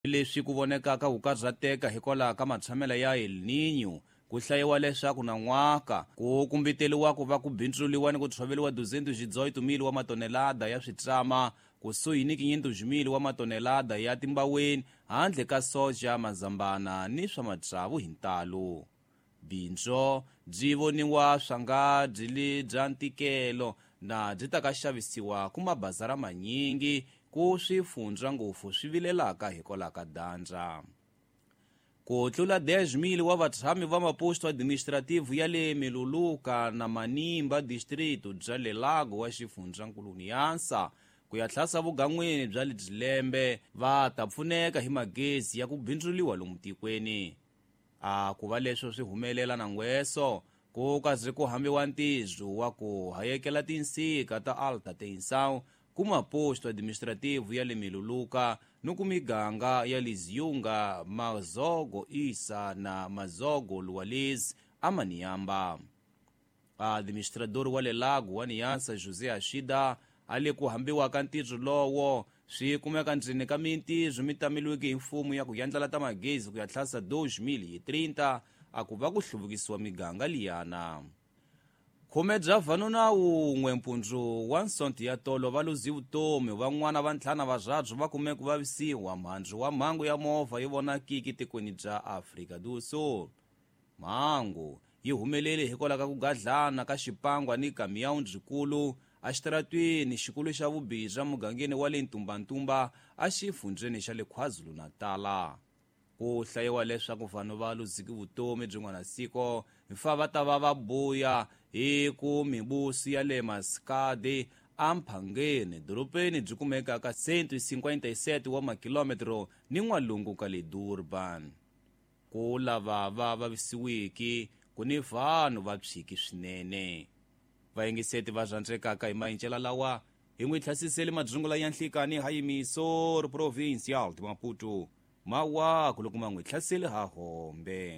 Leswi ku vonekaka ku karhateka hikwalaho ka matshamelo ya El Niño, ku hlayiwa leswaku nan'waka ku kumbeteriwa ku va ku bindzuliwa ni ku tshoveriwa 218,000 wa matonelada ya switlama kusuhi ni 500,000 wa matonelada ya timbaweni handle ka soja, mazambana ni swa matsavu hi ntalo. Bindzu byi voniwa swa nga byi li bya ntikelo na byi ta ka xavisiwa ku mabazara manyingi ku swifundza ngopfu swi vilelaka hikwalaho ka dyandza. Ku tlula 10,000 wa vatshami va maposto administrative ya le Miluluka na Manimba district bya le Lago wa xifundzankulu Niassa ku ya tlhasa vugan'wini bya le Dzilembe va ta pfuneka hi magezi ya ku bindzuliwa lomu tikweni. A ku va leswo swi humelela nangweso ku kaze ku hambiwa ntirho wa ku hayekela tinsika ta alta tensão ku maposto administrativo ya le Miluluka ni ku miganga ya Liziyunga, Mazogo Isa na Mazogo Luwalezi amaniyamba. Administrador wa le Lago wa Niassa José Ashida a le ku hambiwa ka ntirho lowo swi kumeka ndzeni ka mintirho mi tameliweke hi mfumo ya ku yandlala ta magezi ku ya tlhasa 2030 a ku va ku hluvukisiwa miganga liyana. Khume bya vanuna wun'we mpundzu wa nsonto ya tolo va luzi vutomi, van'wana va ntlhanu va va kume ku vavisiwa mhandzu wa mhangu ya movha yi vonakiki tikweni bya Afrika do Sul. Mhangu yi humelele hikwalaho ka ku gadlana ka xipangwa ni kamiyawu ndzikulu exitaratweni xikulu xa Vubirha mugangeni wa le Ntumbantumba exifundzeni xa le KwaZulu-Natal. Ku hlayiwa leswaku vanhu va luziki vutomi byin'wana siko fa va ta va va buya hi ku mibusi ya le Maskadi amphangeni dorobeni byi kumekaka 157 wa makilometro ni n'walungu ka le Durban. Ku lava va vavisiwiki ku ni vanhu va tshiki swinene. Vayingiseti va rhandzekaka hi mayincela lawa hi n'wi tlhasisele madzungula ya nhlikani ha yimisor provincial de Maputo mawaku loko ma n'wi hlasele ha hombe.